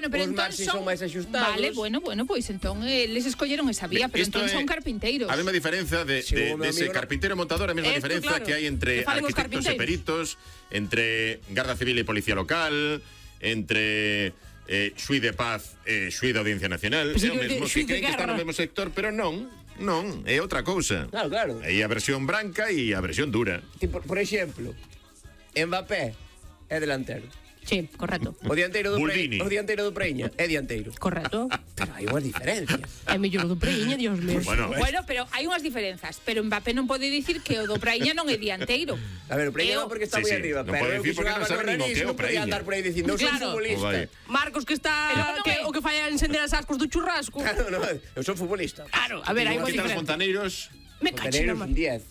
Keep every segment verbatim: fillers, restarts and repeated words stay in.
Bueno, pero os entón marxes son son máis axustados. Vale, bueno, bueno, pois pues, entón eles escolleron esa vía, pero Isto entón é son carpinteiros. A mesma diferenza de, Si, de, o meu de ese amigo no- carpintero e montador, a mesma Esto, diferenza claro, que hai entre que falen os arquitectos e carpinteiros. peritos, entre Garda Civil e Policía Local, entre eh, xuiz de paz e xuiz da Audiencia Nacional, Pues é o que mesmo, xuiz que de creen que están no guerra. mesmo sector, pero non, non, é outra cousa. Claro, claro. Aí a versión branca e a versión dura. Tipo, por exemplo, Mbappé é delantero. Sí, correcto. O dianteiro do Buldini. Preña, o dianteiro do Preña é dianteiro. Correcto. Pero hai unhas diferencias. É mellor o do Preña, Dios mío. Bueno, Bueno, pero hai unhas diferenzas, pero Mbappé non pode dicir que o do Praíña non é dianteiro. A ver, o Preña Eu- non porque está Sí, moi sí, arriba, non pero pode eu decir que porque non xogaba sabe no nin o Rennes que é o non podía Praíña. andar por aí dicindo, eu son Claro. futbolista. Vai. Marcos que está Pero non que, é- o que fai é encender as ascos do churrasco. Claro, no, eu son futbolista. Claro, a ver, hai unha Quitar os diferencia. fontaneiros, Me cacho na Fontaneros mar. un diez.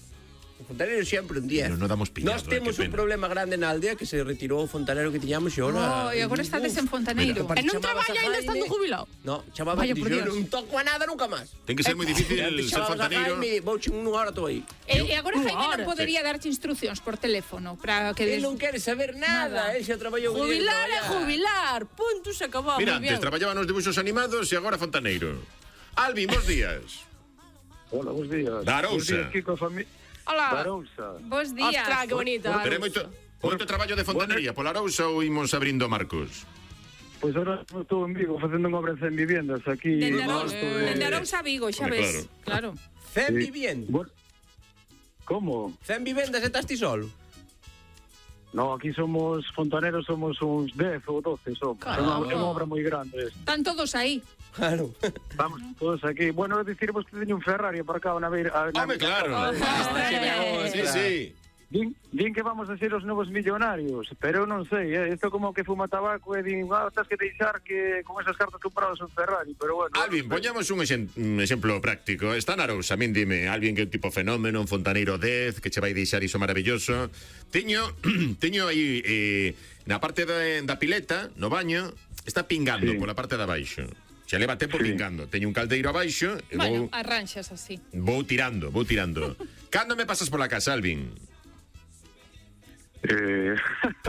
O fontanero sempre un diez. Pero non damos pillado, Nós eh, temos que un pena. problema grande na aldea que se retirou o fontanero que tiñamos e Oh, ora... e agora estades en Fontaneiro. Mira, E non chamabas traballa a ainda Jaime. estando jubilado. No, chamaba Vaya y por yo Dios. non toco a nada nunca máis. ten que ser moi difícil Antes ser chamabas a fontaneiro. Jaime, vou che unha hora tô aí. E, e agora Jaime Ahora, non podería darte instruccións por teléfono para que Él des... non quere saber nada, Nada. él xa traballou un día de Jubilar é traballar. jubilar. Punto, se acabou. Mira, Muy bien. antes traballaba nos dibujos animados e agora fontaneiro. Alvin, bos días. Hola, bons días. Da Arousa. Bons días, Kiko, familia. Hola. Da Arousa. Bos días. Ostras, que bonita. Pero é moito, moito traballo de fontanería pola Arousa ou imos abrindo Marcos? Pois agora estou en Vigo facendo unha obra en cen viviendas aquí. Dende no Arousa, alto de- dende Arousa a Vigo, xa Hombre, ves. Claro. Cen Sí. viviendas. Bueno, como? Cen vivendas e estás ti solo. No, aquí somos fontaneros, somos uns dez ou doce, somos. É unha, é unha obra moi grande. esta. Están todos aí. Claro. Estamos todos aquí. Bueno, dicirvos que teño un Ferrari aparcado na beira. na- Home, claro. Ostras. Sí, sí. Din, din que vamos a ser os novos millonarios, pero eu non sei, eh? Isto como que fuma tabaco e din, ah, tens que deixar que con esas cartas compradas un Ferrari, pero bueno. Alvin, poñamos un, exen- un exemplo práctico. Está na Arousa, min dime, Alvin que tipo fenómeno, un fontaneiro dez, que che vai deixar iso maravilloso. Teño, teño aí eh, na parte da, da pileta, no baño, está pingando Sí. pola parte de abaixo. Xa leva tempo Sí. pingando. Teño un caldeiro abaixo e Bueno, vou, arranxas así. vou tirando, vou tirando. Cando me pasas pola casa, Alvin? Eh,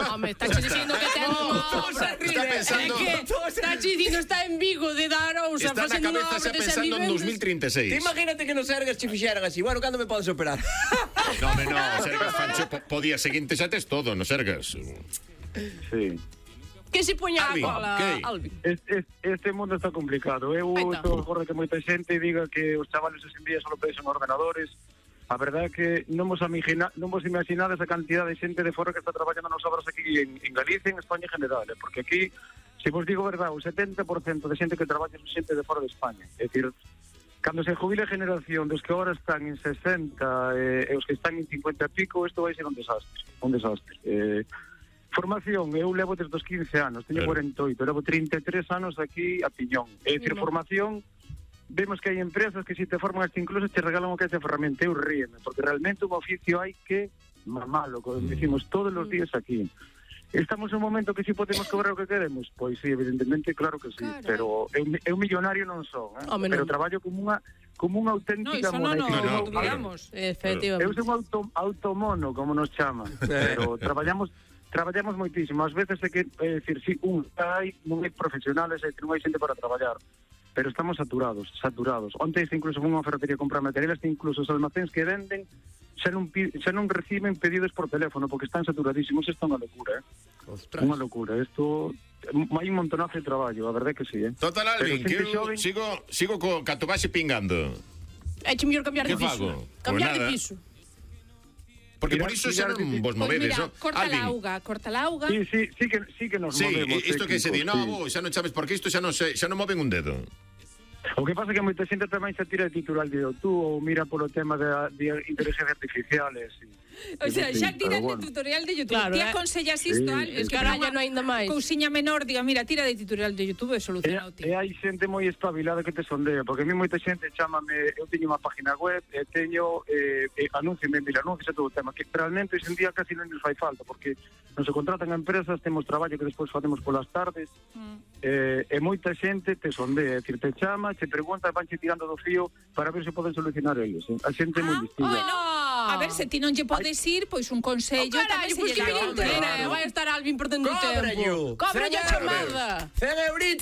Home, está che dicindo que ten unha obra. Está pensando- É que está che dicindo está en Vigo de Darousa Está na facendo unha cabeza obra xa de pensando en dos mil trinta e seis. Te imagínate que nos ergas che fixeran así. Bueno, cando me podes operar? No, me no, o Sergas Fancho, po, po día seguinte xa tes todo, no Sergas. sí. Que se poña a Alvin, cola, que? Alvin. Este, este mundo está complicado. Eu Aita. estou agora que moita xente diga que os chavales hoxe en día só pensan ordenadores. A verdade é que non vos, imagina, non vos imaginades a cantidad de xente de fora que está traballando nas obras aquí en, en Galicia, en España en general, eh? Porque aquí, se vos digo verdade, o setenta por cento de xente que traballa é xente de fora de España. É dicir, cando se jubile a generación dos que agora están en sesenta eh, e os que están en cincuenta e pico, isto vai ser un desastre, un desastre. Eh, formación, eu levo desde os quince anos, teño Claro. cuarenta e oito, levo trinta e tres anos aquí a piñón. É dicir, Mira. formación, vemos que hai empresas que se te forman hasta incluso te regalan o que é esa ferramenta. Eu ríeme, porque realmente un oficio hai que mamalo, como decimos todos os días aquí. Estamos en un momento que si podemos cobrar o que queremos? Pois sí, evidentemente, claro que sí, Claro. pero eu, eu millonario non son, eh? Home, pero non. traballo como unha como unha No, auténtica iso non, mona. no, No, no, no, claro. digamos. Eu Efectivamente. son auto, automono, como nos chaman, pero traballamos traballamos moitísimo. Ás veces é que, é dicir, si un hai, non hai profesionales, é dicir, non hai xente para traballar, pero estamos saturados, saturados. Onte incluso fui a unha ferretería a comprar materiales, que incluso os almacéns que venden xa non, pi- xa non reciben pedidos por teléfono porque están saturadísimos. Isto é unha locura, eh? Ostras. Unha locura. Isto hai un montonazo de traballo, a verdade é que sí, eh? Total, Alvin, Pero que xente eu xoven- sigo, sigo co catobaxe pingando. É che mellor cambiar de Que piso. fago? Cambiar Pois de nada. piso. Porque Mira, por iso mira, xa non mira, vos Pois movedes, mira, ¿no? corta Alvin. la auga, corta la auga. Sí, sí, sí que, sí que nos Sí, movemos. isto que se di, técnicos, no, sí. vos, xa non sabes porque isto xa non se, xa non moven un dedo. O que pasa é que moita xente tamén se tira de titular de YouTube ou mira polo tema de, de inteligencia artificial e así. O sea, xa tiran Pero de tutorial de YouTube. Claro, Ti eh. aconsellas isto, Sí, Al, sí, es que sí. Caralla, para unha non aínda máis. cousiña menor, diga, mira, tira de tutorial de YouTube e E, solucionado ti. e hai xente moi espabilada que te sondea, porque a mí moita xente chámame, eu teño unha página web e teño eh, eh, anuncios en mil anuncios e todo o tema, que realmente hoxe en día casi non nos fai falta, porque nos se contratan a empresas, temos traballo que despois facemos polas tardes, Mm. eh, e moita xente te sondea, é dicir, te chama, te pregunta, vanche tirando do fío para ver se poden solucionar eles. Eh? A xente é moi Ah, distinta. bueno, a ver, se ti non lle podes ir, pois un Oh, consello carallo, tamén se pois lle que dá. me Hombre, entera, claro. vai estar Alvin perdendo o Cóbralle. tempo. Cóbralle a Cen chamada. cen euritos.